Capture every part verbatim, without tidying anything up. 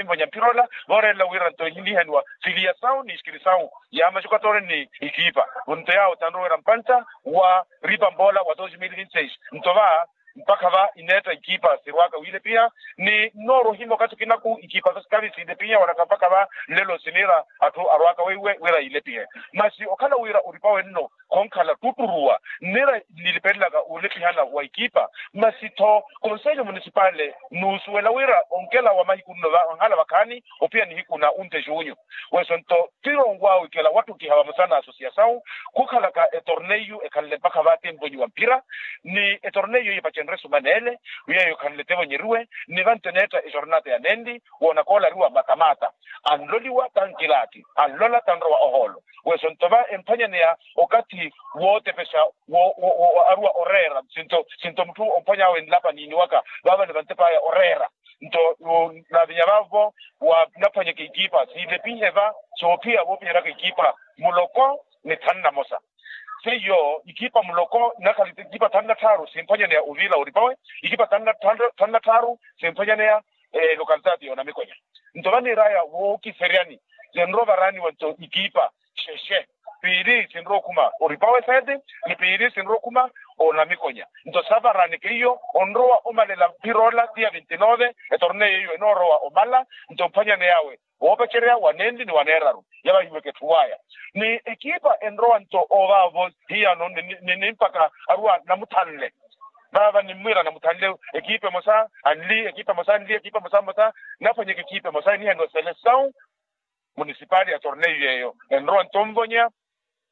Mvonya mpira ola, voorelela wira nto nihihaniwa filiyasawu ni sikirisawu ya maxukatori ni ikipa. Nto yaawo tanrowa wira mpantta wa ripa mpola wa dos mil vinti seis. Nto va mpakha va ineetta ikipa sirwaka wiilepiha. Ni nnoorowa ohimya okathi kinaku ikipa sa sikali siilepiha wanaka mpakha va nlelo siniira atthu arwaka weiwe wira yiilepihe. Masi okhala wira oripawe nno khonkhala ttutturu wa nniira nilipelelaka wuulepihana wa ikipa. Masi-tho konselho munisipale nuusuwela wira onkela wa mahiku nno va onhala vakhaani ophiya nihiku na unte junho. Weso nto ttirongo awe ikela wattukiha vamosa na asosiyasawu khukhalaka etorneyu ekhanle mpakha va temponyi wa mphira. Ni etorneyu eyo epacenrye suma neele wiya eyo ekhanle tevonyeriwe ni vantte neetta ejornata ya nenli woona koolariwa matamata. Anloliwa tankilaati anlola tanrowa ohoolo. Weso nto va emphwanyaneya okathi wootepexa wo aruwa oreera sinto sinto mutthu omphwany'awe nlapa niiniwaka vaavale vantep'aya oreera. Nto navinya vaavo wanaphwanyeke ikipa siilepihe va soophiya voopiheryaka ikipa muloko ni thanu na mosa. Seiyo ikipa muloko nakhala ikipa thanu na tthaaru simphwanyaneya oviila oripawe. Ikipa thanu na tthaaru simphwanyaneya lokalitaati yoonamikonya. Nto vaniiraya wookiseryani zinrowa varaaniwa nto ikipa xexe piili sinrowa okhuma oripawe seti ni piili sinrowa okhuma onamikonya. Nto savaraaneke iyo onrowa omalela mphira ola tiya vinti nove etorneyo iyo enoorowa omala. Nto mphwanyaneyawe woopacerya wa nenli ni wa neeraru yavahiweke etthu waya ni ekipa enrowa nto ovaavo hiyano ni nimpaka aruwa namuthanle. Vaava nimmwiira namuthanle ekipa emosa anli ekipa emosa anli ekipa emosa mmosa naphwanyeke ekipa emosa enihaniwa selesawu munisipali ya torneyu yeeyo enrowa nto onvonya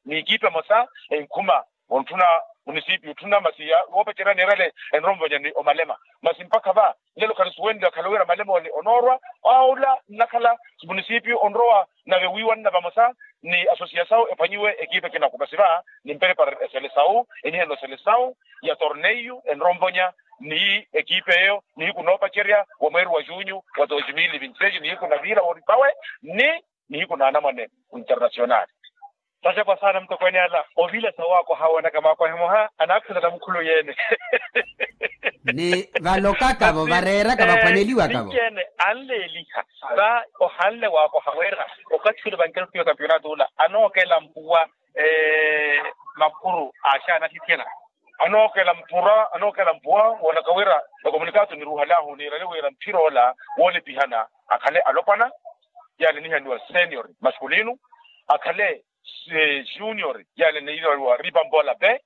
ni ekipa emosa enkhuma ontthuna munisipio otthuna masi woopacerya neerale enrowa onvonya ni omalema. Masi mpakha va nlelo khanisuwenle akhala wira malema ole onoorwa aula nnakhala munisipio onrowa nave wiiwanna vamosa ni asosiyasawu ephwanyiwe ekipa ekinaku masi va nimperepara eselesawu enihaniwa selesawu ya torneyu enrowa onvonya ni ekipa eyo nihiku noopacerya wa mweeri wa junyu wa dos mil vinti seis nihiku na viira wooripawe ni nihiku na anamwane internasionali. Saxekwa saana mutokweene ala oviila sa waakoha woonaka maakohe moha anaakhula na mukhulu yeene. Ni valokaka-vo vareeraka vaphwaneliwaka-vo. Ninci-ene anleeliha va ohanle waakoha wira okathi ule vankerukiwa kampionato ula anookela mpuwa makhuru aaxaana axithiyana. Anookela mpura anookela mpuwa woonaka wira ekomunikato niruhalahu niirale wira mphira ola woolepihana akhale alopwana yaale nihaniwa senior masculino akhale junior yaale nihaniwa ripa mpola pe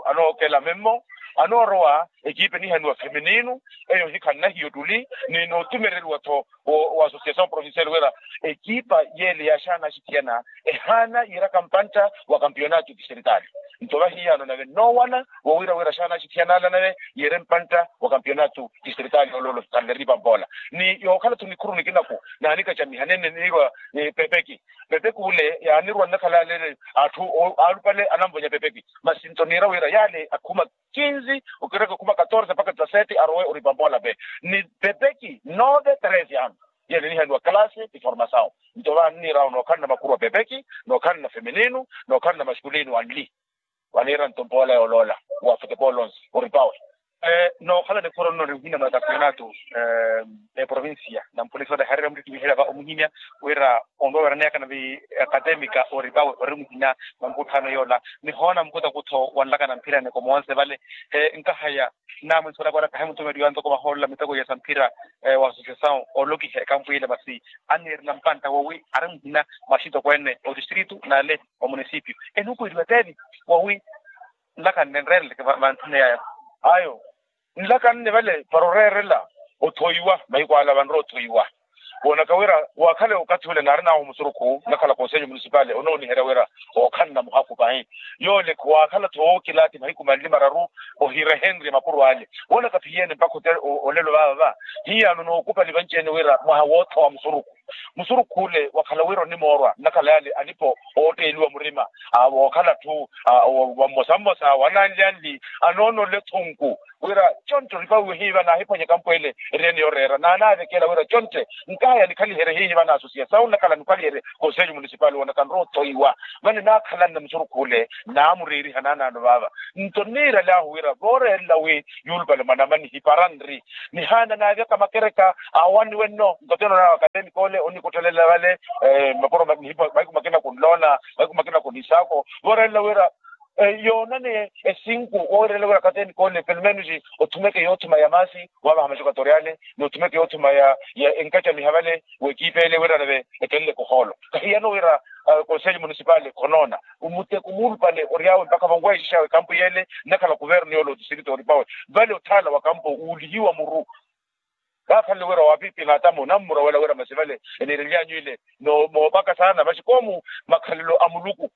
anookela memmo anoorowa ekipa enihaniwa feminino eyo hikhanna hiyo ttuli ni nootumereriwa-tho wa association provincial wira ekipa yeele yaaxaana axithiyana ehaana yiiraka mpantta wa kampionato distrital. Nto vahiyano nave nnoowana wowiira wira axaana axithiyana ala nave yiire mpantta wa kampionato distrital yooloolo khanle ripa mpola ni yookhala-tho nikhuru nikinaku naanikacamiha nenne niirwa pepeki pepeki ule yaanirwa nnakhala ale atthu aalupale anamvonya pepeki masi nto niira wira yaale akhuma kinzi okiraka khuma katorse mpakha dizasete arowe oripa mpola pe ni pepeki nove treze ano yene nihaniwa kalasi ti formasawu. Nto vaniirawo nookhalana makhuru a pepeki nookhalana feminino nookhalana masculino anli vaniira nto mpola yooloola wa futepolo onse oripawe. Nookhala nikhuru nno ori muhina mwa kampionato eprovincia na mpolisi olehererya muttittimiherya va omuhimya wira onrowa weraneyaka nave academica oripawe ori muhina mwa nkutthaano yoola nihoona mukutakuttho wanlakana mphira ni komoonse vale. Nkahaya naamwinsuwela kwara kahimutumeliwa ntoko vahoolola miteko ya samphira wa association olokiha ekampu ile masi anniirela mpantta wowi ari muhina mwa axitokweene otistritu nale omunisipio enukuweliwa teevi wowi nlaka nnenrereleke vantthune yaya. Ayo nlaka nne vale para oreerela othoiwa mahiku ala vanrowa othoiwa woonaka wira waakhale okathi ule naarinahu musurukhu nnakhala konselho munisipale onooniherya wira ookhalana muhakhu pahi yoole waakhala-tho wookilaati mahiku manli mararu ohirehenrye makuru ale woonaka phiyene mpakha olelo vaava va hiyano nookupa ni vanci-ene wira mwaha woothowa musurukhu Musurukhu ole wakhala wira onimoorwa nnakhala yaale alipo ootteeliwa murima, wookhala atthu wa mmosa mmosa wananli anli anoononle ethunku wira contte oripawe hiiva naahiphwanya ekampu ele. Eriyeni yooreera naanaavekela wira contte nkaya nikhaliherye hiiva na asosiyasawu nnakhala nikhaliherye konselho munisipali woonaka nrowa othoiwa. Vale naakhalanne musurukhu ole naamureeriha naanaano vaava. Nto nniiraly'ahu wira vooreerela wi yuulupale mwanamani hipara nri nihaana naavyaka makereka awaniwe nno nto tenoona wakateeni koole onikottelelela vale. Mapuro mahiku makina kunloona mahiku makina kunisaako vooreerela wira yoonane esinku wooreerela wira kateeni koole pelumenusi othumeke yoothuma ya maasi waavaha maxukatoriale ni othumeke yoothuma ya enkacamiha vale w'ekiipa ele wira nave ekeleleke ohoolo. Kahiyano wira konselho munisipali khonoona omuteko muulupale ory'awe mpakha vonweexix'awe ekampu yeele nnakhala kuvernu yoola otisirito oripawe vale othaala wa kampu uulihiwa muru. Kaakhanle wira waapiipina atamu nammurowela wira masi vale eniirely'anyu ile moopaka saana maxi koomu makhalelo a muluku.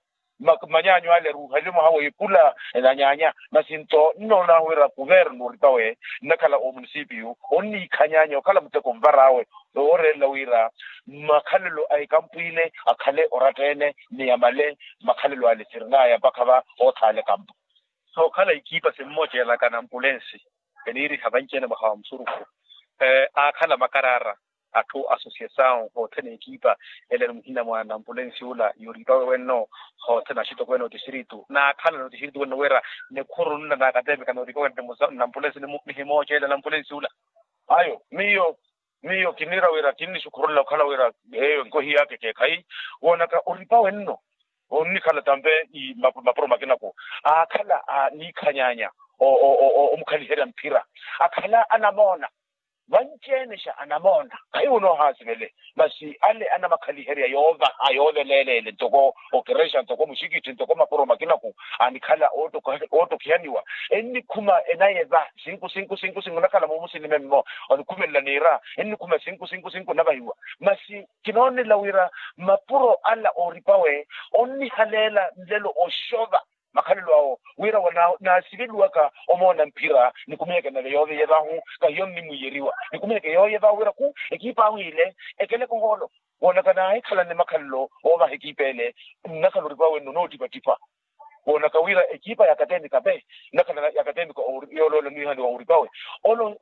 Manyaanyu ale ruuhaliwe mwaha w'epula enanyaanya masi nto nnoon'ahu wira kuvernu oripawe nnakhala omunisipiyu onniikhanyaanya okhala muteko onvar'awe. Wooreerela wira makhalelo a ekampu ile akhale oratta-ene ni amale makhalelo ale sirin'aya mpakha va oothaala ekampu. Sookhala ikiipa simmoocelaka nampulensi eniiriha vanci-ene mwaha wa musurukhu aakhala makaraara atthu asosiyasawu hothene ekiipa ele ni muhina mwa nampulensi ula yoripawe wenno hothene axitokweene otisiritu naakhala notisiritu wenno wira nikhuru nna naakateemika nooripawe nna nampulensi nihimooceela nampulensi ula. Ayo miyo miyo kiniira wira kinnisukhurula okhala wira eyo enkohi yaka ekeekhayi woonaka oripawe nno onnikhala tampe mapuro makinaku aakhala aniikhanyaanya omukhaliherya mphira akhala anamoona vanci-ene xa anamoona khayi wunoohaasivele masi ale anamakhaliherya yoovaha yooveleela ele ntoko okerexa ntoko muxikitthi ntoko mapuro makinaku anikhala ootokhihaniwa ennikhuma enayeva sinku sinku sinku sinku nakhala moomusinime mmo onikhumelela niira ennikhuma sinku sinku sinku navahiwa masi kinoonela wira mapuro ala ooripawe onnihaleela nlelo oxova makhalelo awo wira naasiveliwaka omoona mphira nikumiheke nave yooveye vahu kahiyo nnimwiyeriwa nikumiheke yooye vahu wira khu ekiipa ahu ile ekeleke ohoolo woonaka naahikhalanne makhalelo oovaha ekiipa ele nnakhala oripawe nno noottipattipa woonaka wira ekiipa yaakateemika pe nnakhala yaakateemika yooloola niihani wa oripawe ole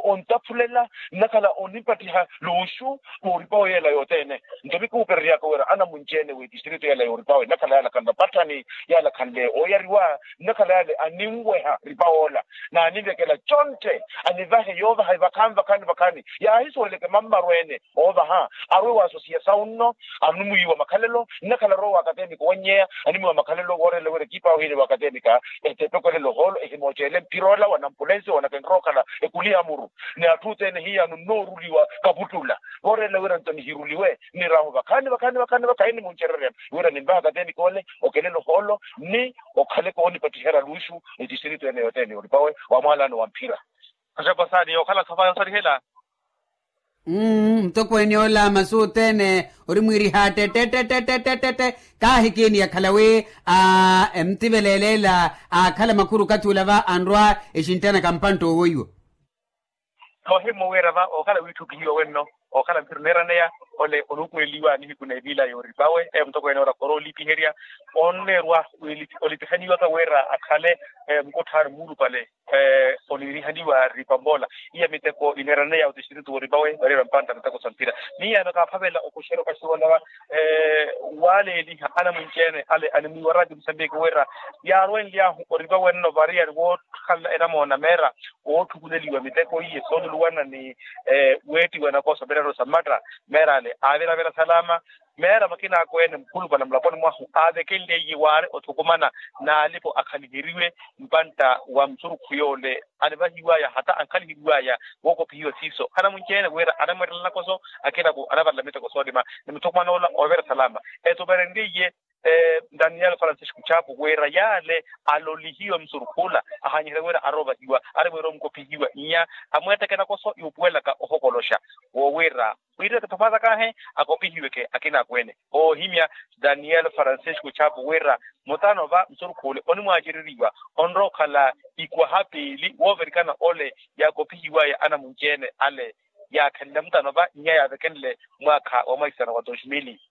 ontaphulela nnakhala onipattiha luuxu wooripawe yeela yothene nto mikuupereryaka wira anamunci-ene w'etistrito yeela yooripawe nnakhala yaala khanla patthani yaala khanle ooyariwa nnakhala yaale aninweha ripa woola naaninvekela contte anivahe yoovaha vakhaani vakhaani vakhaani yaahisuweleke mammarweene oovaha arwe waasosiya sawu nno animwiiwa makhalelo nnakhala arwe waakateemika owannyeya animwiiwa makhalelo woorelela wira ekiipa ahu ile waakateemika etepeko elelo ohoolo ehimooceele mphira ola wa nampulensi woonaka enrowa okhala ekuliha muru ni atthu othene hiyano nnooruliwa kaputtula voorelela wira nto nihiruliwe niraahu vakhaani vakhaani vakhaani vakhaani nimuncererya wira nimvaha kateemika ole okelela ohoolo ni okhaleke onipattiherya luuxu ni tistrito ene yothene yoripawe wa mwaalano wa mphira. Acapasaani yookhala sofaya osarihela. Mmm mutokweene ola masu othene ori mwiiriha ttettettettettettette kaahikiini yakhala wi a emutiveleleela aakhala makhuru okathi ula va anrwa exinttanaka mpantta owoiwa. Noohimmo wira va okhala wiitthukihiwa wenno okhala mphira oneeraneya ole onuukuleliwa nihiku na epila yooripawe mutokweene ora khoroolipiherya onneerwa olipihaniwaka wira akhale mukutthani muulupale oniirihaniwa ripamboola iya miteko ineeraneya otistrito wooripawe varira mpantta miteko sa mphira miyaano kaaphavela okuxerya okaxiwolava waaleeliha anamunci-ene ale animwiiwa raati musambiki wira yaarwenly'ahu oripawe nno variyari wookhanla enamoona meera wootthukuleliwa miteko iye sooluluwana ni weettiwa nakoso meeraro sa mmatta meera ale aaveravera salama meera makina akweene mukhulupale mulaponi mwahu aavekenleiye waari othukumana n'alipo akhaliheriwe mpantta wa musurukhu yoole anivahiwaya hata ankhaliheriwaya wookopihiwa siiso anamunci-ene wira anamweettela nakoso akinako anavarela miteko soolima ni muthukumana ola oovera salama etuverenleiye daniel francisco chapo wira yaale alolihiwa musurukhu ola ahanyiherya wira arovahiwa arimwiira omukopihiwa nnya amweetteke nakoso yuupuwelaka ohokoloxa woowira wira kithomaatakahe akopihiweke akina akweene oohimya daniel francisco chapo wira mutano va musurukhu ole onimwaacereriwa onrowa okhala ikwaha piili woovirikana ole yaakopihiwaya anamunci-ene ale yaakhenle mutano va nnya yaavekenle mwaakha wa mwaisano wa dos mili,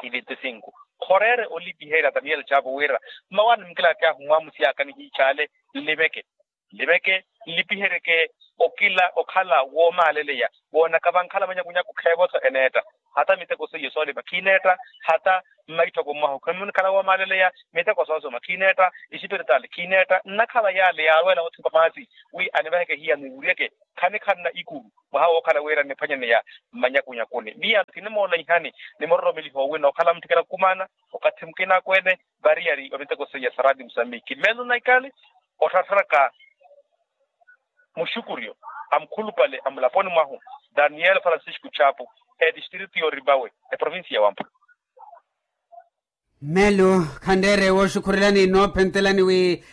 ivinti sinku. Khoreere olipiherya daniel chapo wira mmawaani mukilaakiyahu mwamusi yaaka nihiichaale nliveke, nliveke nlipiheryeke okila okhala woomaaleleya woonaka vankhala manyakunyaku kheevo-tho eneetta. Hata miteko seiyo soolima khiineetta, hata mmaitthoko mwahu khimnikhala woomaaleleya miteko soosoma khiineetta, isipiritali khiineetta nnakhala yaale yaalweela othipa maasi wi anivaheke hiya niwuryeke. Khanikhanna ikuru mwaha wookhala wira nniphwanyaneya mmanyakunyakuni miya kinimoolanyihani, nimuroromeliha owi nookhala mutthikela khukumaana okathi mukina akweene variyari wa miteko seiya sa raati musambiki mmeelo naikali. Otthattharaka muxukuryo a mukhulupale a mulaponi mwahu daniel francisco chapo, etistritu y'oripawe eprovincia ya wampa. Mmeelo khanreere wooxukhurelani noophentelani wi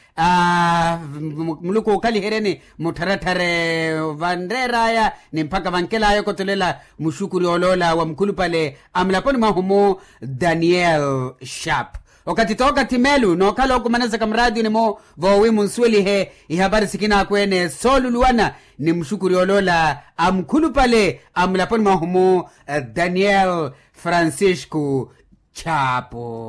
muluku okhaliheryeni muttharatthare vanreer'aya ni mpakha vankel'aya okotolela muxukuri oloola wa mukhulupale a mulaponi mwahu-mu daniel sharp. Okathi t'okathi meelu nookhala okumanasaka muraatiyuni-mu voowi munsuwelihe ihapari sikina akweene sooluluwana ni muxukuri oloola a mukhulupale a mulaponi mwahu-mu daniel francisco chapo.